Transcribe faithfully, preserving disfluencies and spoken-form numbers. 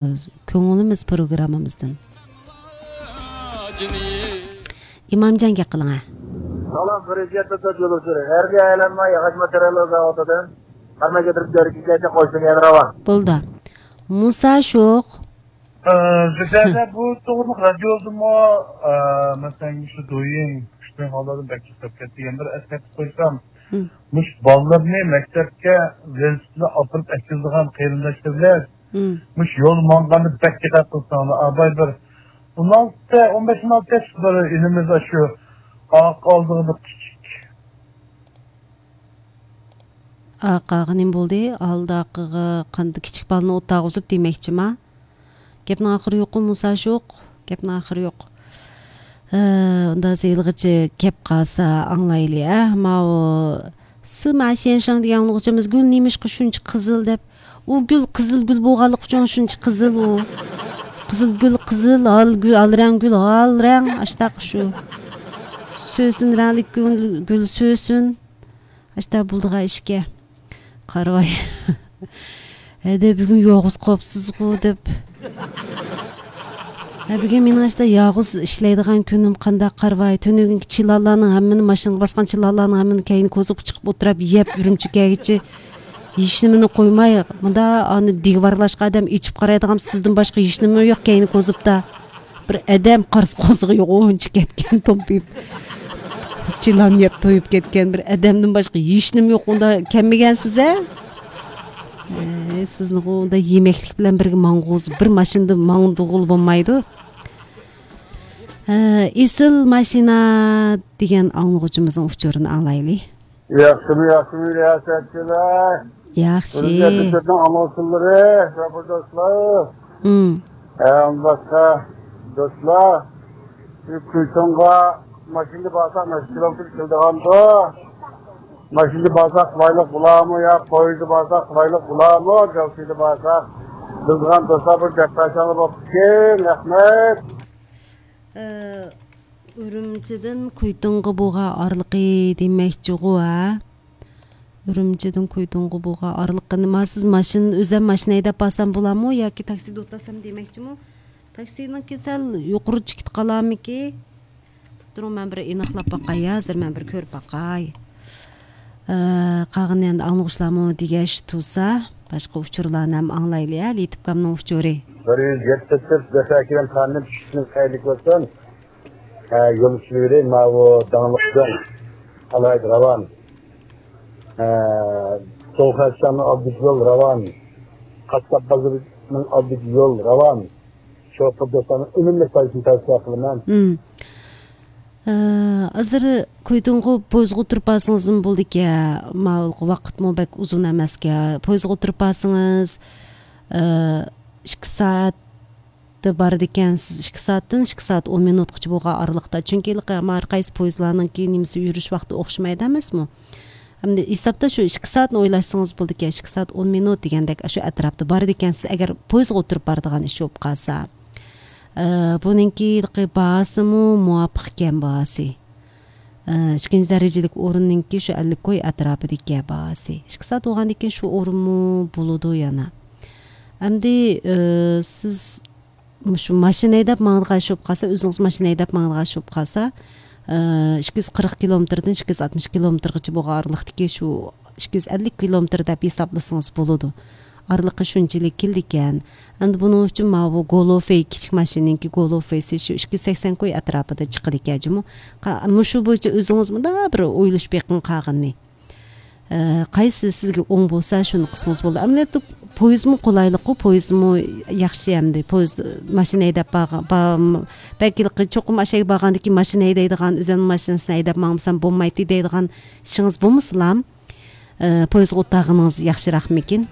كۆڭلىمىز پروگراممىمىزدىن. ئىمامجان، گەپ قىلىڭە. سالام، پرېزىدېنت تۆت يولدىشى. ھەربىي ئايلانما ياغاچ ماتېرىياللىرى زاۋۇتىدىن قاراماي كۆتۈرۈپ، جارى كېچىلەردە قوشتىن يەنە راۋان. بولدى. مۇسا شوق. ئە، زۇبەيدە، بۇ توغرىلىق رادىيودىمۇ، ئە، مەسىلەن، مۇشۇ دويىن، كۈچلۈك ھاللاردا بەك توختاپ كەتتى. يەنە بىر ئەسكەرتىپ قويسام، مم. مۇشۇ بالىلارنى مەكتەپكە ۋېلىسىپىتلا ئاپىرىپ ئەكىلىدىغان قېرىنداشلار بىلەن مم. مۇشۇ يول ماڭغاندا بەك دىققەت قىلساڭلار. ئاباي بىر ئون ئالتە، ئون بەش، ئون ئالتە ياش بىر ئىنىمىز شۇ ئارقا ئالدىغا بىر كىچىك. ئارقىغا نېمە بولدى؟ ئالدىقىغا قانداق كىچىك بالىنى ئولتۇرغۇزۇپ دېمەكچىما؟ گەپنىڭ ئاخىرى يوققۇ، مۇسا شوق. گەپنىڭ ئاخىرى يوق. ھە، ئۇندا زېلغىچە گەپ قالسا ئاڭلايلى، ھە؟ ماۋۇ سىما شيەنشاڭ دېگەن ئاڭلىغۇچىمىز گۈل نېمىشقا شۇنچە قىزىل دەپ، ئۇ گۈل قىزىل گۈل بولغانلىقى ئۈچۈن شۇنچە قىزىل ئۇ. قىزىل گۈل قىزىل، ھال گۈل، ھال رەڭ گۈل ھال رەڭ، ئاشتاق شۇ. سۆسۈن رەڭلىك گۈل، گۈل سۆسۈن. ئاشتا بولىدىغان ئىشكە. قارىۋاي. ھەدە بۈگۈن يالغۇز قاپسىزغۇ دەپ. ھە، بۈگۈن مېنىڭ ئاشتا يالغۇز ئىشلەيدىغان كۈنۈم قانداق قارىۋاي. تۈنۈگۈنكى چىلانلارنىڭ ھەممىنى، ماشىنىغا باسقان چىلانلارنىڭ ھەممىنى كەينى كوزۇپقا چىقىپ ئولتۇرۇپ يەپ، ئۈرۈمچىگە كەلگىچە ھېچنېمىنى قويماي، مۇندا ئانى دىگۋارلاشقا ئادەم ئېچىپ قارايدىغان سىزدىن باشقا ھېچنېمە يوق كەينى كوزۇپتا. بىر ئادەم قارىسى قوزىقى يوق، ئۇنچە كەتكەن تومپىيىپ. چىلان يەپ تويۇپ كەتكەن بىر ئادەمدىن باشقا ھېچنېمە يوق، ئۇندا كەلمىگەنسىز ھە؟ ئەي، سىزنىغۇ ئۇندا يېمەكلىك بىلەن بىرگە ماڭغۇزۇپ، بىر ماشىنىدا ماڭدۇغىلى بولمايدۇ. ھە، ئېسىل ماشىنا دېگەن ئاڭلىغۇچىمىزنىڭ ئۇچۇرىنى ئاڭلايلى. ياخشىمۇ، ياخشىمۇ، رىياسەتچىلەر؟ ياخشى. ئۈرۈمچى ئەترىتىنىڭ ئاڭلىغۇچىلىرى، ساپا دوستلار. مم. ھە، ئۇنداقتا دوستلار، شۇ كۈيتۇڭغا ماشىنىدا بارساق نەچچە كىلومېتىر كېلىدىغاندۇ؟ ماشىنىدا بارساق قولايلىق بولارمۇ يا پويىزدا بارساق قولايلىق بولارمۇ؟ گاۋسىدا بارساق. بىلىدىغان دوستلار بىر گەپ قىلساڭلار بوپتىكەن. رەھمەت. ئە، ئۈرۈمچىدىن كۇيتۇڭغا بولغان ئارىلىقى دېمەكچىغۇ، ھە؟ ئۈرۈمچىدىن كۇيتۇڭغا بولغان ئارىلىقى نېمە؟ سىز ماشىنا، ئۆزۈم ماشىنا ھەيدەپ بارسام بولامۇ ياكى تاكسىدا ئولتۇرسام دېمەكچىمۇ؟ تاكسىنىڭكى سەل يۇقىرى چېكىتى قالارمىكى؟ تۇرۇڭ، مەن بىر ئېنىقلاپ باقاي، ھازىر مەن بىر كۆرۈپ باقاي. ئە، قالغىنى ئەمدى ئاڭلىغۇچىلارمۇ دېگەچ تۇرسا، باشقا ئۇچۇرلارنى ھەم ئاڭلايلى، ھە، لېتىپكامنىڭ ئۇچۇرى. بىر يۈز يەتتە تۆت زەپەركېرەم خانىم چۈشۈشىڭىز خەيرلىك بولسۇن. ھە، يول ئۈستىلىرى ماۋۇ داڭلىق جاڭ ئالاھىدە راۋان. ھە، سوۋغاتچاننىڭ ئالدىدىكى يول راۋان. قاسساپ بازىرىنىڭ ئالدىدىكى يول راۋان. شوپۇر دوستلارنىڭ ئۈنۈملۈك پايدىسىنى تەۋسىيە قىلىمەن. مم. ئە، ھازىر كويدۇڭغۇ پويىزغا ئولتۇرۇپ بارسىڭىزمۇ بولىدىكەن. ماۋۇ ۋاقىتمۇ بەك ئۇزۇن ئەمەسكەن. پويىزغا ئولتۇرۇپ بارسىڭىز، ئە، ئىككى سائەتتە بارىدىكەنسىز. ئىككى سائەتتىن ئىككى سائەت ئون مىنۇتقىچە بولغان ئارىلىقتا. چۈنكى ھېلىقى ھەر قايسى پويىزلارنىڭكى نېمىسى، يۈرۈش ۋاقتى ئوخشىمايدۇ ئەمەسمۇ؟ ئەمدى ھېسابتا شۇ ئىككى سائەتنى ئويلاشسىڭىز بولىدىكەن، ئىككى سائەت ئون مىنۇت دېگەندەك، شۇ ئەتراپتا بارىدىكەنسىز، ئەگەر پويىزغا ئولتۇرۇپ بارىدىغان ئىش بولۇپ قالسا. ئە، بۇنىڭكى باھاسىمۇ مۇۋاپىق ئىكەن، باھاسى. ئە، ئىككىنچى دەرىجىلىك ئورۇننىڭكى شۇ ئەللىك كوي ئەتراپىدىكى باھاسى. ئىككى سائەت بولغاندىن كېيىن شۇ ئورۇنمۇ بولىدۇ يەنە. ئەمدى، ئە، سىز مۇشۇ ماشىنا ھەيدەپ ماڭىدىغان ئىش بولۇپ قالسا، ئۆزىڭىز ماشىنا ھەيدەپ ماڭىدىغان ئىش بولۇپ قالسا، ئى، ئىككى يۈز قىرىق كىلومېتىردىن ئىككى يۈز ئاتمىش كىلومېتىرغىچە بولغان ئارىلىقتىكى شۇ ئىككى يۈز ئەللىك كىلومېتىر دەپ ھېسابلىسىڭىز بولىدۇ. ئارىلىقى شۇنچىلىك كېلىدىكەن. ئەمدى بۇنىڭ ئۈچۈن ماۋۇ گولوفېي، كىچىك ماشىنىنىڭكى گولوفېيسى شۇ ئىككى يۈز سەكسەن كوي ئەتراپىدا چىقىدىكەن جۇمۇ. قا-، مۇشۇ بويىچە ئۆزىڭىز مۇنداق بىر ئويلىشىپ بېقىڭ قالغىنىنى. ئە، قايسى سىزگە ئوڭ بولسا، شۇنى قىلسىڭىز بولىدۇ. ئەمەلىيەتتە پويىزمۇ قولايلىققۇ، پويىزمۇ ياخشى ئەمدى. پويىز، ماشىنا ھەيدەپ بارغان، بار-، بەلكى چوقۇم ئاشۇ يەرگە بارغاندىن كېيىن ماشىنا ھەيدەيدىغان، ئۆزۈمنىڭ ماشىنىسىنى ھەيدەپ ماڭمىسام بولمايتتى دەيدىغان ئىشىڭىز بولمىسىلا، ئە، پويىزغا ئولتۇرغىنىڭىز ياخشىراقمىكىن؟